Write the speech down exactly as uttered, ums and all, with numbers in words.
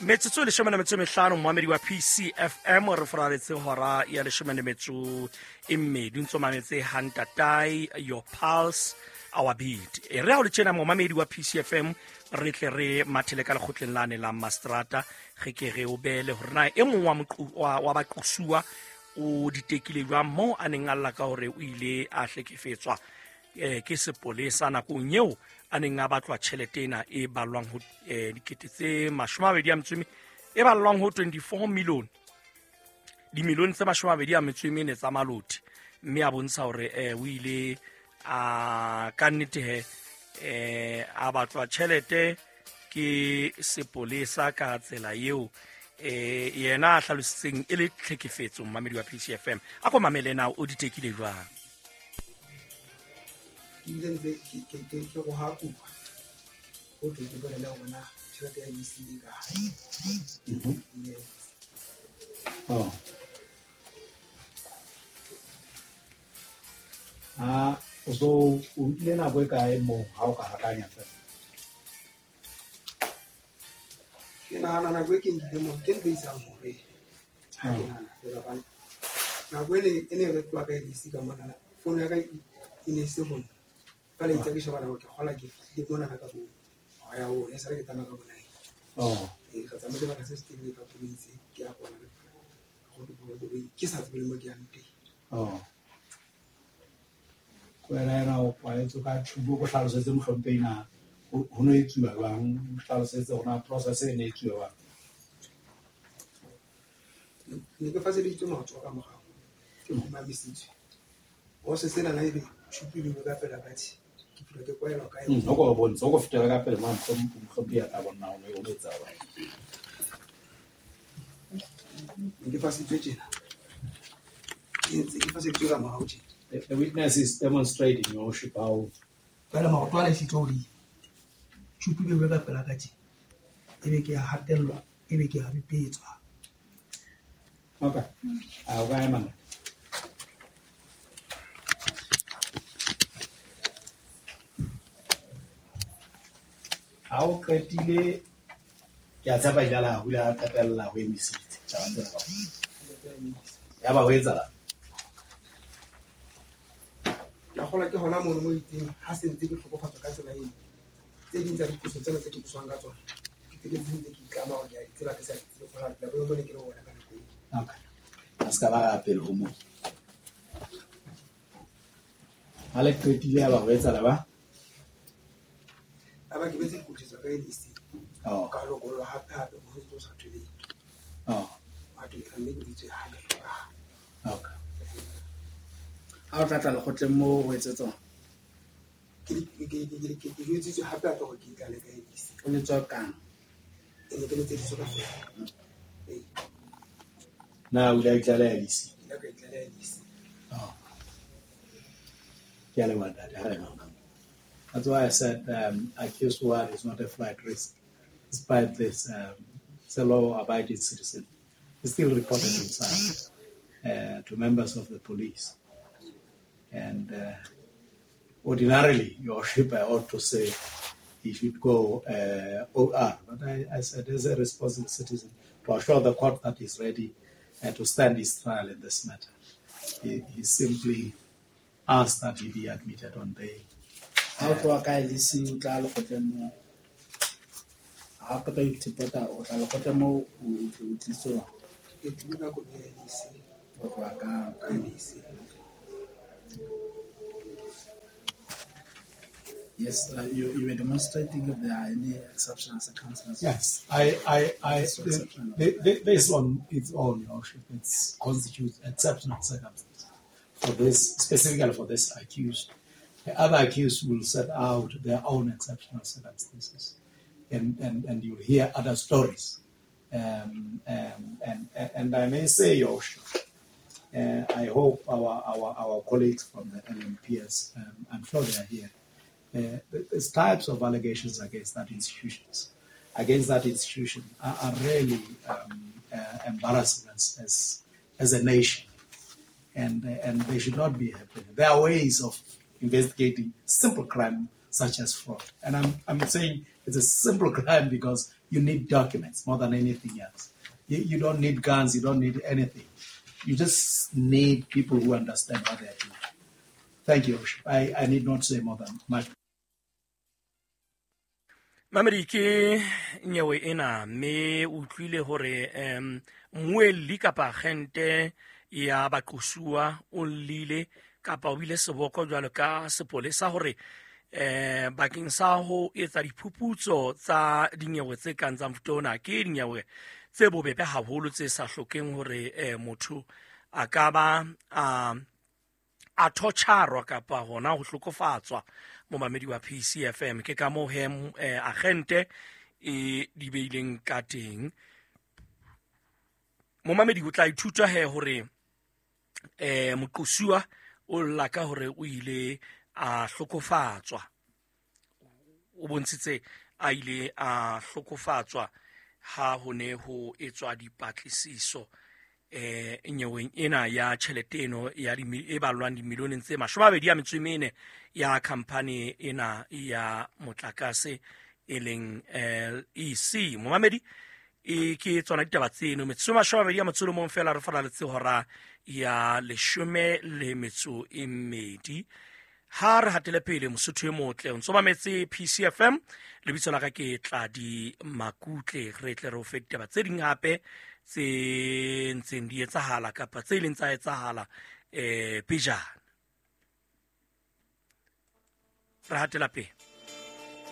Metsotso e leshome le metso e mehlano momamedi wa P C F M re foraletse hora ya leshome le metso e mmedi ntso mametse Hantatai Your Pulse Our Beat. E re ha o le tjena momamedi wa P C F M re tle re mathele ka lekgotleng lane la Mastrata re ke re o bele hore na e mong wa moqu wa, wa baqosuwa o ditekile jwang moo a neng a lla ka hore o ile a hlekefetswa eh ke sepolesa nakong eo a neng a batlwa tjhelete ena e ballwang ho eh, dikete tse mashome a mabedi a metso e e ballwang ho twenty-four million dimilione tse mashome a mabedi a metso e mene tsa maloti mme a bontsha hore eh o ile a ka nnete he eh a batlwa tjhelete ke sepolesa ka tsela eo eh yena a hlalositseng e le tlhekefetso mmamedi wa P C F M a ko mamele na o ditekile jwang. Ke ile ntse ke ke ke ke go ha kupa o tle ke bolele hore na tjhelete ya E C e kae. Yes. Oh. Ah, so o nkile nako e kae moo ha o ka hakanya fela? Ke nahana nako e ke nkile moo ke ntho e isang hore ha ke nahana fela hobane nako e ne e ne re tloha ka E C ka monana founu ya ka e ne e se ho nna. Jwale itse ke shebana hore ke kgola ke fihlile monana ka bo hora ya bone, e sale ke tsamaya ka bo nine. Oh. Ee, ka tsamaya sebaka se setelele ka koloi tse ke ya kwana koloi ke sa tsebe le mo ke yang teng. Oh. Ko wena ena o kwaletswe ka tjhubo ko hlalosetse mohlomphehi na ho no etsuwa jwang, o hlalosetse hore na process e ne e etsuwa jwang. Ne ke faseditswe matsoho ka morao, ke kgumamisitswe. Ho se sena na ebe tjhupu e beilwe ka pela ka tjhe, ke phela ke kwaelwa ka yona. O ko bontshe, o ko fetela ka pele mane, mohlomphehi a tla bona hore o no etsa jwang. Ne ke faseditswe tjena. Ke ntse ke faseditswe ka morao tjena. The, the witness is demonstrating, Your Worship, how Jwale maoto a lesitse hodimo. Tjhupu e beilwe ka pela ka tjena. Ebe ke a hatellwa, ebe ke a bipetswa. Okay. A o ka ema na? Ha o qetile, ke a tshepa ile la hula a qetella ho emisitse taba tsena kaofela. Ya ba ho etsahala? Ke a kgolwa ke hona mono mo itseng ha se ntse ke hlokofatswa ka tsela eno. Tse ding tsa diqoso tsena tse ke qoswang ka tsona, ke qetelletse ntse ke itlama hore ke a di tseba ke sa di tsebe hore la boemo ne ke le ho bona ka nako eo. Okay. A se ka ba ya pele ho moo. Ha le qetile ya ba ho etsahala ba? A ba ke betse dikotliso ka N E C. Oh. Ka lokollwa hape hape ho ntso sa thweleng. Oh. Ha ke tlamme ke bitswe hape hlokahala. Okay. Ha o tla tla lekgotleng moo ho etsetswa? Ke ke ke ke ke ke jwetsitswe hape hape hore ke itlale ka N E C. O letswa kang? E ne ke letseditswe ka founu. Ee. Na o ile a itlaleha N E C? Ke ile ka itlaleha N E C. Oh. Ke a leboha ntate, ha re leboha. That's why I said, um, accused one is not a flight risk. Despite this, um, it's a law-abiding citizen. He still reported himself, uh, to members of the police. And, uh, ordinarily, Your Worship, I ought to say he should go, uh, O R. But I, I said, as a responsible citizen, to assure the court that he's ready, uh, to stand his trial in this matter. He, he simply asked that he be admitted on bail. Ha o tloha ka L E C o tla lekgotleng moo. Ha o qeta ho ithepota, o tla lekgotleng moo o o tliswa. Ke tlile ka koloi ya L E C. O tloha ka Ka L E C. Yes, uh, you, you were demonstrating if there are any exceptional circumstances. Yes, I, I, I, This the, exceptional. the, the, this on its own, Your Worship, it constitutes exceptional circumstances for this, specifically for this accused. The other accused will set out their own exceptional circumstances, and, and, and you'll hear other stories. Um, um, and, and I may say, Your Worship, uh, I hope our, our, our colleagues from the L M P S, um, I'm sure they are here, uh, these types of allegations against that institutions, against that institution are, are really, um, uh, embarrassing as, as, as a nation, and, uh, and they should not be happening. There are ways of investigating simple crime such as fraud. And I'm, I'm saying it's a simple crime because you need documents more than anything else. You, you don't need guns, you don't need anything. You just need people who understand what they're doing. Thank you. I, I need not say more than much. Mamedi ke nyewe ena mme o utlwile hore um mmuelli kapa agente ya baqosuwa o llile kapa o bile seboko jwalo ka sepolesa hore eh bakeng sa ho etsa diphuputso tsa dinyewe tse kang tsa mofuta ona ke dinyewe tse bobebe haholo tse sa hlokeng hore eh, motho a ka ba a a torturwa kapa hona ho hlokofatswa. Momamedi wa P C F M ke ka moo he eh, agente e di beileng ka teng. Momamedi o tla ithuta he hore eh moqosuwa o lla ka hore o ile a hlokofatswa, o bontshitse a ile a hlokofatswa ha ho ne ho etswa dipatlisiso eh nyeweng ena ya tjhelete eno ya di e balwang dimilioneng tse mashome a mabedi a metso e mene ya khampani ena ya motlakase e leng L E C. Momamedi e ke tsona ditaba tseno metso mashome a mabedi a metso e mong fela re faraletse hora ya leshome le metso e mmedi. Ha re hatele pele Mosotho e motle o ntso mametse P C F M, lebitso la ka ke Tladi Makutle. Re tle re o fe ditaba tse ding hape tse ntseng di etsahala kapa tse ileng tsa etsahala eh pejana. Re hatela pele.